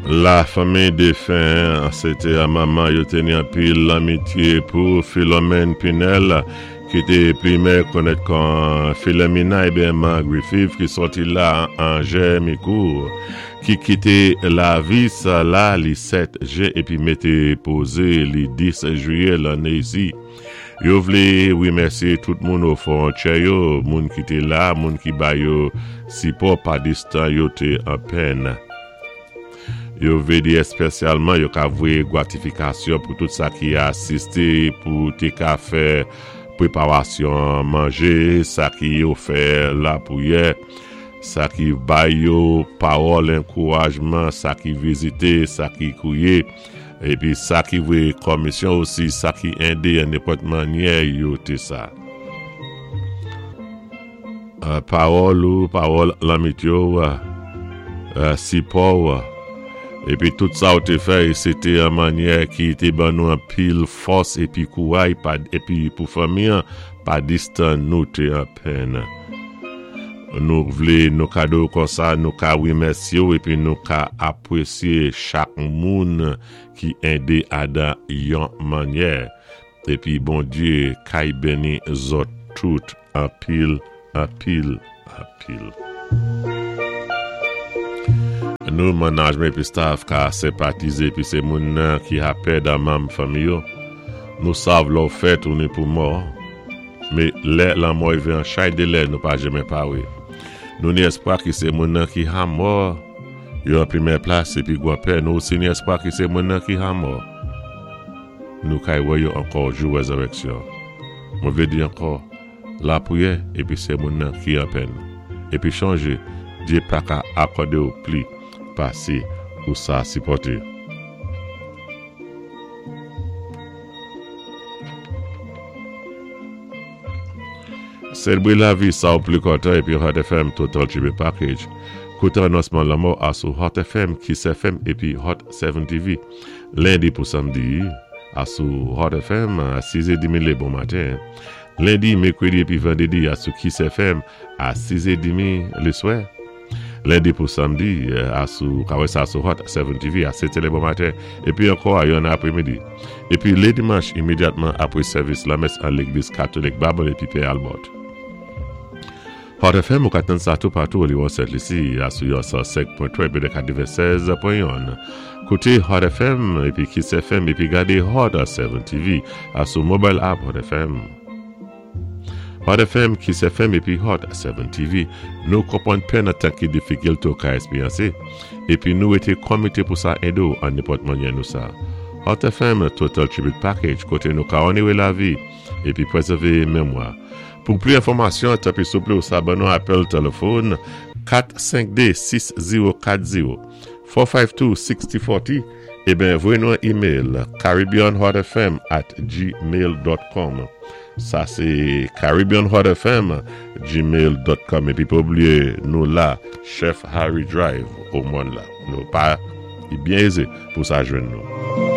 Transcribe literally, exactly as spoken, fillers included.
La fanmi défin, sé té manman yo té ni anpil lanmitié pou Philomène Pinel ki té pli mèyè konnèt kon Philomena ébyen Man Griffith ki sòti la an Jèmikou ki kité lavi sa la li sèt jen épi mété pozé li dis jwiyè lanné isi. Yo vlé wimèsyé tout moun o fwontyè yo, moun ki té la, moun ki ba yo sipò pandistan yo té an pèn. Yo vlé di èspésyalman yo ka voyé gwatifikasyon pou tout sa ki asisté pou té ka fè pwéparasyon manjé, sa ki yo fè lapwiyè, sa ki bay yo pawòl ankourajman, sa ki vizité, sa ki kwiyé, épi sa ki voyé komisyon osi, sa ki édé an nenpòt mannyè yo té sa. Euh, pawòl ou pawòl lanmitye ou, euh, sipò épi tout sa ou té fè sé té an mannyè ki té ban nou anpil fòs épi kouray épi pou fanmi pandistan nou té an pèn. Nou vlé nou kado kon sa nou ka wimèsyé ou épi nou ka apwésyé chak moun ki édé adan yon mannyè. Épi Bondyé kay béni zòt tout anpil anpil anpil. Nou manajman épi staff ka senpatizé épi sé moun ki ha pèd an manm fanmi yo. Nou sav lè ou fèt ou ni pou mò. Mé lè lanmò rivé an chay dé lè nou pa janmen pawé. Nou ni èspwa ki sé moun ki ha mò yo an pwémyé plas épi gwanpè nou osi ni èspwa ki sé moun ki ha mò. Nou kay wè yo ankò jou wézirèksyon. Mwen vlé di ankò lapwiyè épi sé moun ki an pèn. Épi chonjé, Dyé pa ka akòdé ou pli pasé ou sa sipòté. Sélébré lavi sa ou pli kontan épi Hot F M Total Tribute Package. Kouté anonsman lanmò a sou Hot F M, Kiss F M épi Hot sept T V. Lendi pou samdi a sou Hot F M a sis è demi lé bon maten. Lendi, mèkwédi épi vandédi a sou Kiss F M a sis è demi lé swè. Lendi pou samdi a sou ka wè sa sou Hot sept T V a sèt bon maten épi ankò a yon apwémidi. Épi lé dimanch imédyatman apwé sèvis lamès an légliz katolik Babonneau épi Pè Albert. Hot F M ou ka tann sa tou patou o Liwon Sent Lisi a sou yon san senk pwen twa épi katèvennsèz pwen youn. Kouté Hot F M épi Kiss F M épi gadé Hot sept T V a sou mobile app Hot F M. Hot F M, Kiss F M épi Hot sept T V. Nou konpwann pèn an tan ki difikilte ou ka èspéryansé. Épi nou été komité pou sa édé ou an nenpòt mannyè nou sa. Hot F M Total Tribute Package koté nou ka onéré lavi épi pwézèvé mémwa. Pou pli enfòmasyon, tanpwi souplé ou sa ban nou apèl téléfòn kat senk de sis zewo kat zewo kat senk de sis zewo kat zewo ébyen voyé nou an email caribbeanhotfm at gmail dot com. Sa sé caribbeanhotfm gmail dot com épi pa blié nou la Chef Harry Drive o monn la. Nou pa byen ézé pou sa jwenn nou.